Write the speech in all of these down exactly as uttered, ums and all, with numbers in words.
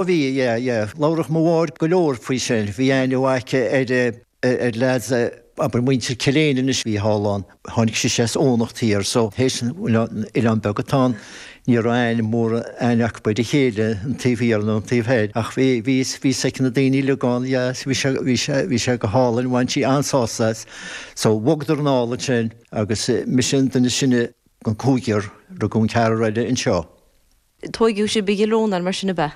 Bhí, yeah, yeah. Labhradh mo mháthair go leor faoi sin. Bhí aithne mhaith aici ar ar leaids, abair muintir Cill Éinne anois a bhí thall ann. Tháinig sise as Eoghanacht Thiar so théis an oileán beag atá ann, ní raibh aithne mór aithne acu ar a chéile, an taobh thiar nó an taobh thoir. Ach bhí bhí bhí fhios aici na daoine uilig ann, yeah, bhí sé bhí sé bhí sé go hálainn, bhain sí an-sásamh as. So bhogadar anall ansin agus mise an duine is sine den cúigear, rugadh an ceathrar eile anseo. Tóigeadh sibh i gCill Rónáin mar sin ab ea?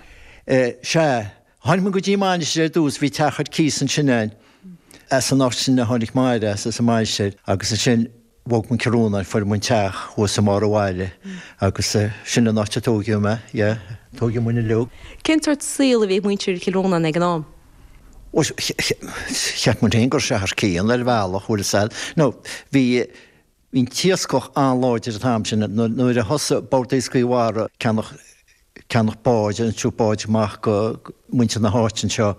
Sea. Tháinig muid go dtí Mainistir ar dtús, bhí teach ar cíos ansin a'inn. As an áit sin a tháinig Máire as, as an Mainistir, agus ansin bhog muid Cill Rónáin, fuair muid teach thuas i mbarr an bhaile agus sin an áit a tóigeadh mé, yeah, tóigeadh muid uilig. Cén sórt saol a bhí ag muintir Chill Rónáin ag an am? Bhuel, cheap muid féin go raibh sé thar cionn ar bhealach, bhfuil fhios a'd. Nó bhí. Bhí an t-iascach an-láidir an t-am sin. Nuair a thosaigh Bord Iascaigh Mhara ceannach ceannach báid, iontú báid amach go muintir na háite anseo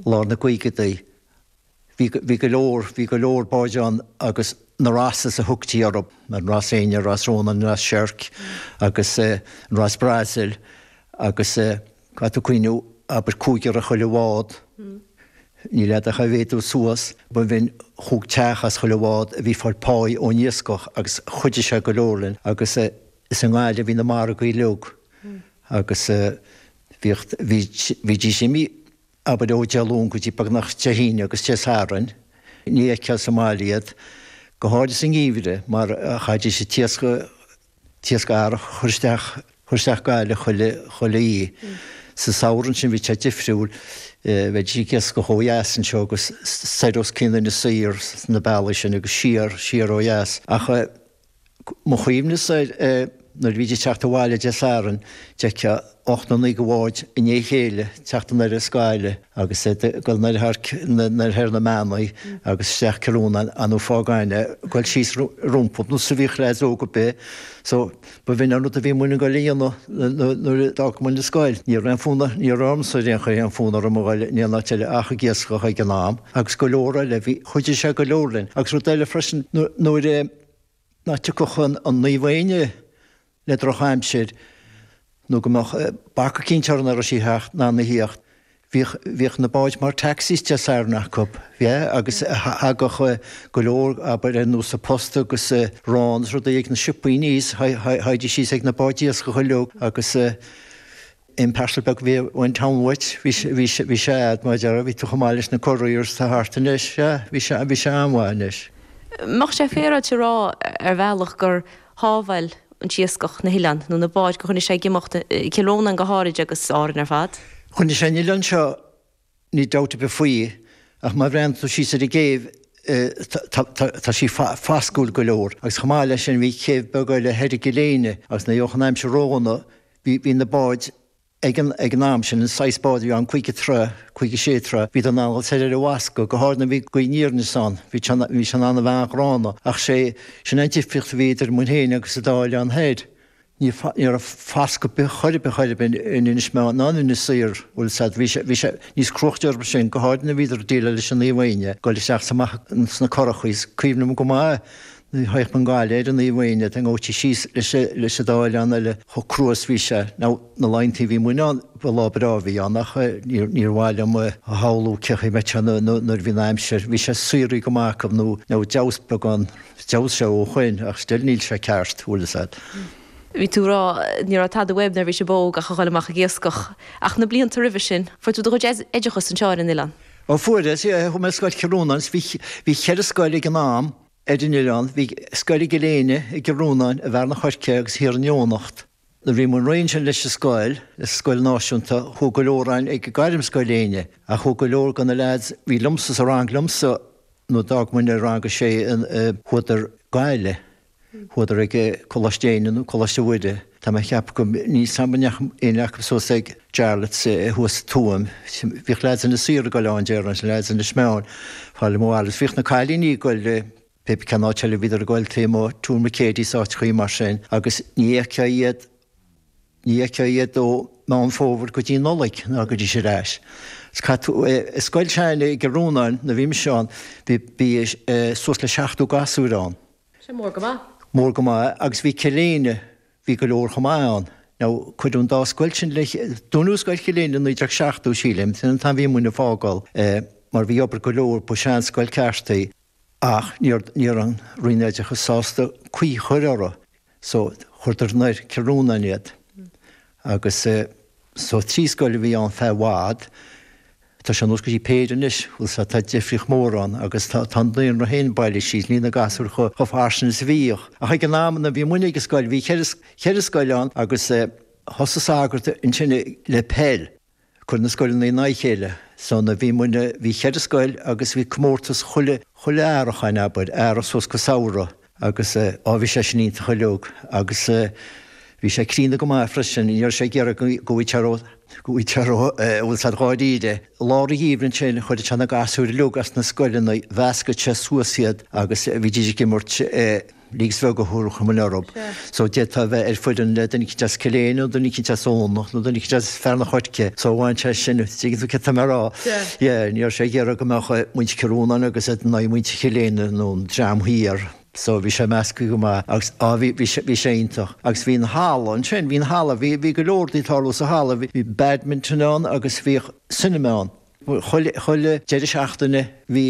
lár na gcaogaidí, bhí bhí go leor bhí go leor báid ann agus na Rosses a thugtaí orthu, an Ros Éinne, Ros Rónáin, Ros Seirc agus an Ros Brasil agus caithfidh tú cuimhniú abair cúigear ar chuile bhád. Níl fheadar cá mhéadú suas, ba bhinn chúig teach as chuile bhád a bhí ag fáil páí ón iascach agus chuidigh sé go leor linn agus is i nGaillimh a bhí na margaí uilig agus bhíodh, bhídís imithe abair ó Dé Luain go dtí beagnach Dé hAoine agus Dé Sathairn, ní fheicfeá sa mbaile iad, go háirid sa ngeimhreadh mar chaithfidís an t-iasc a t-iasc earrach a chur isteach, chur isteach Gaillimh chuile, chuile oíche. Sa samhradh ansin bhí sé difriúil, bheidís ag iascach ó dheas anseo agus soir os cionn Inis Oírr sna bealaí sin agus siar, siar ó dheas. Ach mo chuimhne-sa nuair a bhídís ag teacht abhaile Dé Sathairn, d'fheicfeá ocht nó naoi de bháid i ndiaidh a chéile ag teacht anoir as Gaillimh agus ag dul anoir thar, anoir thar na Meanaí agus isteach Cill Rónáin an fágáin ag dul síos rompu nó sa bhíodh leaids óga ar bith so ba bh'in an rud a bhí muinn ag dul a dhéanamh nuair a d'fhág muinn an scoil. Ní raibh aon fhonn, ní raibh ormsa ar aon chaoi aon fhonn orm a dhul in aon áit eile ach ag iascach ag an am agus go leor eile, bhí, chuidigh sé go leor linn. Agus rud eile freisin nuair a, ná tiocfadh an Naomh Éinne le drochaimsir nó go mbeadh bac eicínt orthu nach raibh sí theacht ná na thíocht. Bhíodh, bhíodh na báid mar taxis Dé Sathairn acu, yeah, agus thagadh go leor, abair, ar nós an post agus arán is rudaí ag na siopaí aníos, théidís síos ag na báid iascaigh uilig agus aon parcel beag a bhí ón town uait, bhí sé, bhí sé, bhí sé a'd, mar a déarfá, bhí tú chomh maith leis na couriers atá thart anois, yeah, bhí sé, bhí sé an-mhaith anois. Mbeadh sé féaráilte a rá ar bhealach gur shábháil an t-iascach na hoileáin, nó na báid, gur choinnigh sé ag imeacht, Cill Rónáin go háirid agus Árainn ar fad? Choinnigh sé an oileán seo, níl dabht ar bith faoi, ach má bhreathnaíonn tú síos ar an gcéibh, tá sí fascúil go leor. Agus chomh maith leis sin bhí céibh beag eile thoir i gCill Éinne agus nuair a bhíodh an aimsir ródhona, bhí na báid Ag an ag an am sin, an saghas bád a bhí ann, caoga troigh, caoga sé troigh, bhíodar in ann dul soir ar an bhfascadh, go háirid nuair a bhí gaoth aniar aneas ann, bhí sé bhí sé in ann a bheith an-ghránna. Ach sé, sin an difríocht a bhí idir muid féin agus an dá oileán thoir. Ní ní raibh fascadh ar bith chor ar bith chor ar bith in Inis Meáin ná in Inis Oírr, bhfuil fhios a'd, bhí sé bhí sé níos cruachtaí orthu sin, go háirid nuair a bhíodar ag déileáil leis an Naomh Éinne, dul isteach is amach sna curachaí, is cuimhin liom go maith nuair a théadh muid go Gaillimh ar an Naomh Éinne, dá ngabhtí síos leis leis an dá oileán eile chomh crua is bhí sé. Now, na laethanta a bhí muinn ann, ba lá breá a bhí ann ach níor níor mhaith liom a shamhlú cén chaoi a mbeadh sé nuair a bhí an aimsir, bhí sé saothraithe go maith acu nó nó d'fheabhas beagán, d'fheabhas sé ó shoin ach still níl sé ceart, bhfuil fhios a'd. Bhí tú ag rá ní raibh tada uaibh nuair a bhí sibh óg ach a dhul amach ag iascach. Ach na blianta roimhe sin, fuair tú do chuid oideachais anseo ar an oileán? Ó fuaireas, yeah, chuaigh mé ar scoil Chill Rónáin, bhí bhí cheithre scoil ag an am, Ar an oileán, bhí scoil i gCill Éinne, i gCill Rónáin, i bhFearann an Choirce agus thiar in Eoghanacht. Nuair a bhí muid réidh ansin leis an scoil, leis an scoil náisiúnta, chuaigh go leor againn ag Gairmscoil Éinne, ach chuaigh go leor de na leaids a bhí liomsa sa rang liomsa nuair a d'fhág muid i rang a sé, chuadar Gaillimh. Chuadar ag Coláiste Éinne nó Coláiste Mhuire. Tá mé ag ceapadh go, níl 's a'm an ndeachaigh éinne acu suas ag Jarlath's thuas sa Tuaim. Bhíodh leaids Inis Oírr ag dul ann déarfainn, leaids Inis Meáin, fáil mo bhaile. Bhíodh na cailíní ag dul pé cén áit eile a bhíodar ag dul taobh amuigh, Tuaim McCady is áiteachaí mar sin agus ní fheicfeá iad, ní fheicfeá iad ó Meán Fómhair go dtí Nollaig ná go dtí ar ais. Is caithfidh tú, i scoil s'againne i gCill Rónáin nuair a bhí mise ann, bhí, bhí suas le seachtó gasúr ann. Sin mór go maith. Mór go maith agus bhí Cill Éinne, bhí go leor chomh maith ann. Now cuireadh an dá scoil sin le dúnadh Scoil Chill Éinde i naoi déag seachtó, sílim, sin an t-am bhí muidne ag fágáil mar bhí obair go leor, ba seanscoil ceart í ach ní raibh an Roinn Oideachais sásta caoi a chur orthu so chuireadar anoir Cill Rónáin iad. Agus so trí scoil a bhí ann feadh i bhfad. Tá sé anuas go dtí péire anois, bhfuil 's a'd, tá difríocht mhór ann agus tá tá an daonra féin bailithe síos, níl na gasúir chomh chomh fairsing is a bhíodh. Ach ag an am nuair a bhí muidne ag an scoil, bhí ceithre ceithre scoil ann agus thosaigh sagart ansin le peil, cur na scoileanna in aghaidh a chéile. So nuair a bhí muidne, bhí ceithre scoil agus bhí comórtas chuile chuile earrach ann, abair, earrach suas go samhradh. Agus á bhí sé sin iontach uilig agus bhí sé críonna go maith freisin, ní raibh sé ag iarraidh go bhfuil sé ró, go bhfuil sé ró, bhfuil sé dháiríre. Lár an gheimhridh ansin chuireadh sé na gasúir uilig as na scoileanna, mheascadh sé suas iad agus bhídís ag imirt leagues bheaga a thabharfadh muid orthu. So d'fhéadfá a bheith ar foireann le duine eicínt as Cill Éinde nó duine eicínt as Eoghanacht nó duine eicínt as Fearann an Choirce. So bhain sé sin, tuigeann tú céard tá mé a rá. Yeah, ní raibh sé ag iarraidh go mbeadh muintir Chill Rónáin agus iad in aghaidh muintir Chill Éinde nó an dream thiar. So bhí sé measctha go maith agus á bhí, bhí sé, bhí sé iontach. Agus bhí an halla ansin, bhí an halla, bhí, bhí go leor rudaí ag tarlú sa halla, bhí, bhí badminton ann agus bhíodh cinema ann. Chuile, chuile deireadh seachtaine bhí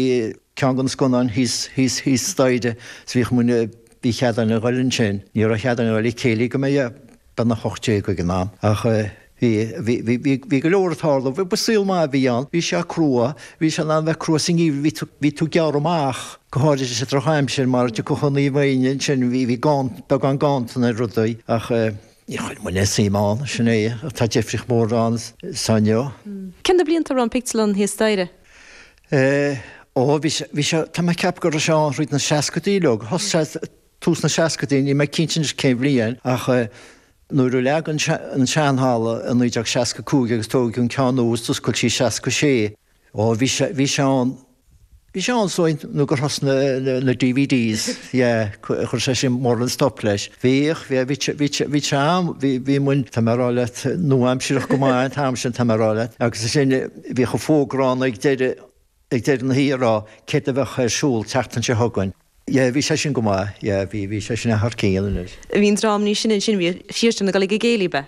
ceann de na scannáin thíos, thíos, thíos staighre so bhíodh muidne, bhí cead againn a ghoil ansin. Ní raibh cead againn a ghoil ag céilí go mbeadh beagnach a hocht déag ag an am ach eh, Bhí, bhí, bhí, bhí, bhí go leor ag tarlú. Ba saol maith a bhí ann. Bhí sé crua. Bhí sé in ann bheith crua sa ngeimhreadh. Bhí tú, bhí tú ag gearradh amach, go háirithe sa drochaimsir mar thiocfadh an Naomh Éinne ansin, bhí, bhí ganntan, beagán ganntan ar rudaí ach eh, níor chuir muid aon suim ann, sin é. Tá difríocht mhór ann sa inniu. Cén na blianta a raibh an pictiúrlann thíos staighre? Eh, ó, bhí sé, bhí sé, tá mé ag ceapadh go raibh sé ann thríd na seascaidí uilig. Thosaigh sé tús na seascaidí, níl mé cinnte anois cén bhliain ach eh, Nuair a leagadh an seanhalla i naoi déag seasca cúig agus tógadh an ceann nua is d'oscail sí i seasca sé. Ó bhí sé, bhí sé ann, bhí sé ann so nó gur thosnaigh na, na DVDs, yeah, chuir sé sin mórán stop leis. Bhíodh, bhí, bhí sé, bhí sé, bhí sé ann, bhí, bhí muid, tá mé a rá leat, nua-aimsireach go maith an t-am sin, tá mé a rá leat. Agus ansin bhíodh an fógra ann ag deireadh, ag deireadh na hoíche a rá céard a bheadh ar siúl tseachtain seo chugainn. Yeah, bhí sé sin go maith, yeah, bhí, bhí sé sin thar cionn anois. Bhí an dream níos sine ansin, bhí siadsan ag dul ag an gcéilí, ab ea?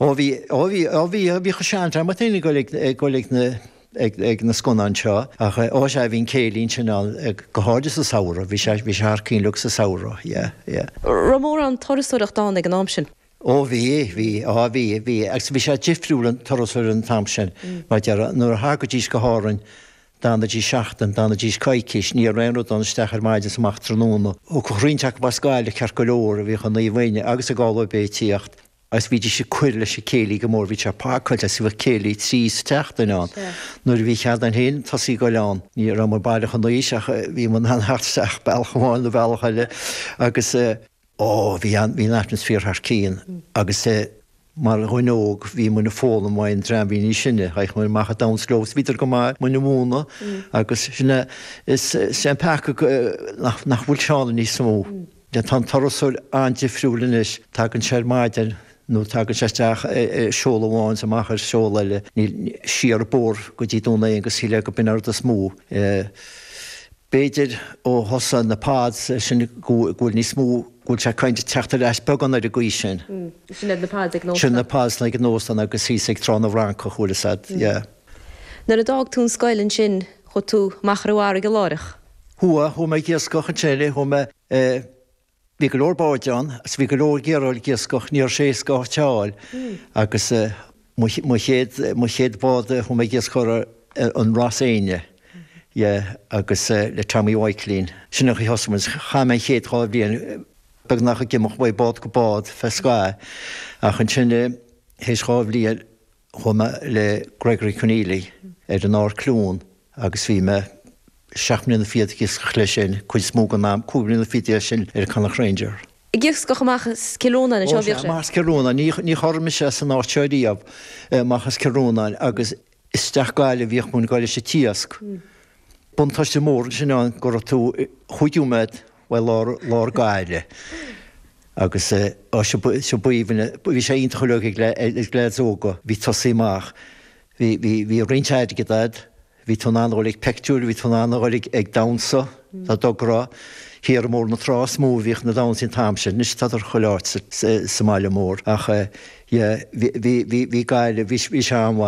Ó bhí, ó bhí, ó bhí, bhíodh an seandream féin ag dul ag, ag dul ag na, ag, ag na scannáin seo ach ó sea, bhí an céilí ansin ann, go háirithe sa samhradh, bhí sé, bhí sé thar cionn uilig sa samhradh, yeah, yeah. Raibh mórán turasóireacht ann ag an am sin? Ó bhí, bhí, á bhí, bhí, agus bhí sé difriúil an turasóir an t-am sin, mar deir, nuair a thagaidís go hÁrainn, D'fhanaidís seachtain, d'fhanaidís coicís, ní raibh aon rud ann isteach ar maidin is amach tráthnóna. Thiocfadh roinnt acu as Gaillimh ceart go leor, a bhíodh i Naomh Éinne agus i Galway Bay ag tíocht agus bhídís ag cur leis an céilí go mór, bhí sé pacáilte agus bhíodh céilí trí sa tseachtain ann. Nuair a bhí cead againn féin tosaí ag goil ann, ní raibh muid baileach in aois ach bhí muid in ann theacht isteach bealach amháin nó bealach eile agus, Ó, bhí an, bhí an atmaisféar thar cionn agus mar dhuine óg bhí muid ag foghlaim uaidh an dream a bhí níos sine, théadh muid amach ag damhsa leo agus bhíodar go maith muid a mhúineadh agus sin é, is, is é an peaca go, nach, nach bhfuil sé ann níos mó. Tá an turasóir an-difriúil anois, tagann sé ar maidin nó tagann sé isteach ar seol amháin is amach ar seol eile, níl, siar an bóthar go dtí Dún Aonghasa shílfeá go b'in an rud is mó. B'fhéidir ó thosaigh na pods sin go bhfuil níos mó, go bhfuil sé kind of teacht ar ais beagán ar an gcaoi sin. Sin iad na pods ag an óstán. Sin na pods ag an óstán agus thíos ag Trá na bhFrancach, bhfuil fhios a'd, yeah. Nuair a d'fhág tú an scoil ansin, chuaigh tú amach ar an bhfarraige láithreach? Chuaigh, chuaigh mé ag iascach ansin, chuaigh mé eh, Bhí go leor báid ann agus bhí go leor ag iarraidh ag iascach, ní raibh sé éasca áit a fháil agus mo chéad, mo chéad bhád a chuaigh mé ag iascach ar an Ros Éinne, yeah, agus le Tommy Mhaidhcilín. Sin an chaoi a thosaigh muid. Chaith mé an chéad dhá bhliain beagnach ag imeacht ó bhád go bád fé scáth ach ansin théis dhá bhliain chuaigh mé le Gregory Conneely ar an Ardchluain agus bhí mé seacht mbliana fichead ag iascach leis sin, cuid is mó den am, cúig bliana fichead dhe sin ar an Connacht Ranger. Ag iascach amach as Cill Rónáin anseo a bhíodh sé? Amach as Cill Rónáin, ní ní chorr mise san áit seo riamh, amach as Cill Rónáin agus isteach Gaillimh bhíodh muid ag goil leis an t-iasc. Buntáiste mór ansin ann go raibh tú chúig nóiméad uaidh lár lár Gaillimh agus á seo seo b'aoibhinn, bhí sé iontach uilig ag ag leaids óga, bhí tosaí amach, bhí bhí bhí roinnt airgid a'd, Bhí tú in ann a dhul ag peictiúir, bhí tú in ann a dhul ag damhsa, dá dtográ. Thiar i mBóthar na Trá is mó a bhíodh na damhsaí an t-am sin. Anois tádar chuile áit sa mbaile mór ach yeah bhí bhí bhí Gaillimh, bhí sé an-mhaith.